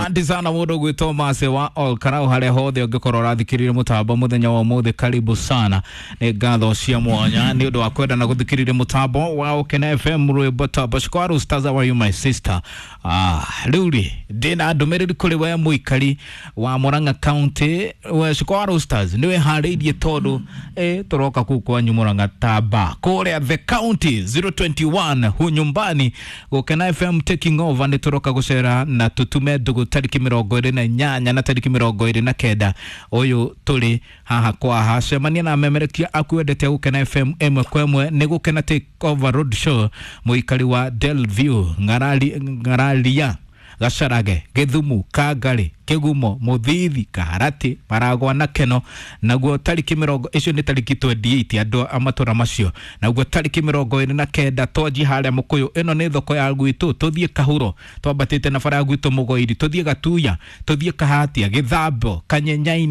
Asante sana mundu gwitwo Mase wa Ol Karau haria hothe ungikorwo urathikiririe mutambo muthenya wa umuthi, karibu sana. Ni ngatho cia mwanya ni undu wa kwenda na guthikiriria mutambo wa Ukena FM rwimbo ta Shukwaru Stars, how are you my sister? Riu ri ndina ndumiriri kuri we muikari wa Murang'a County, we Shukwaru Stars ni wihariirie tondu turoka kuu kwanyu Murang'a taba kuria the county 021 hu nyumbani Gukena FM taking over. Ni turoka gucera na tutume ndugu tariki 28 na tariki 29 uyu turi haha kwa haha. Cemania na amemerekia aku wendete Gukena FM ĩmwe kwa ĩmwe. Nĩ Gukena take over road show, mũikari wa Delview, Ng'arari, Ng'araria, Gacarage, Githumu, Kangari, Kigumo, Muthithi, Kaharati, Maragwa na Keno. Naguo tariki mĩrongo icio nĩ tariki 28 andũ a matũra macio. Naguo tariki 29 twanji harĩa Mũkũyũ, ĩno nĩ thoko ya gwitũ, tũthiĩ Kahuro twambatĩte na bara ya gwitũ Mũgoiri, tũthiĩ Gatuya, tũthiĩ Kahatia, Gĩthambo, Kanyenyaini.